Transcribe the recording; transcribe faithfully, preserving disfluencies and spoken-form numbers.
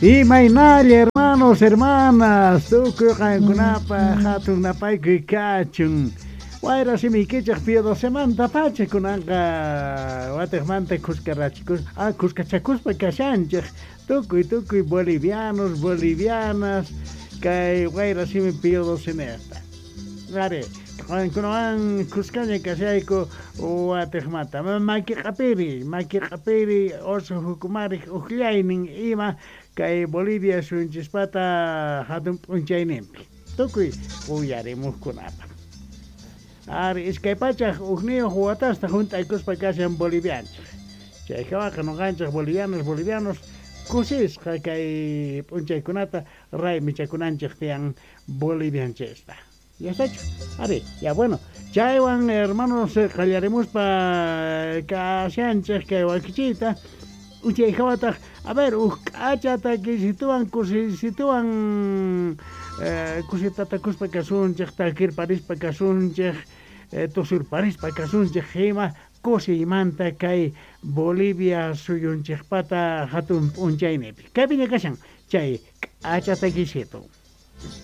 Imaynalla hermanos, hermanas, tukuy qankunapaq hatun napaykuy kachun. Wayra simiykichej Pío Docemanta pacha kunanqa watiqmanta khuskarachikus ah, khuskachakuspa kashanchej tukuy tukuy bolivianos, bolivianas kay wayra simi Pío Doceneta. Ari, qankunawan khuskaña kashayku watiqmanta. Maki q'apiri, maki q'apiri oso hukumarik uqllaynin ima kay Bolivia suyunchispata hatun p'unchayninpi. Tukuy uyarimuqkunapaq. Ari, iskay pachaj ujniyuq watasta junt'aykuspa kashan bolivianchej. Chay hawaqa nuqanchej bolivianos, bolivianos kusisqa kay p'unchaykunata raymichakunanchej tiyan bolivianchista. ¿Ya está hecho? Ari, ya bueno. Chaywan hermanos qallarimuspa kashanchej kay wakichiyta. Uchay hawataq, a ver, uj k'acha takisituwan kusisituwan eh, kusitatakuspa kasunchej, takirparispa kasunchej, eh, tusurparispa kasunchej ima kusiymanta kay Bolivia suyunchejpata hatun p'unchaynipi. Kaypiña kashan chay k'acha takisitu.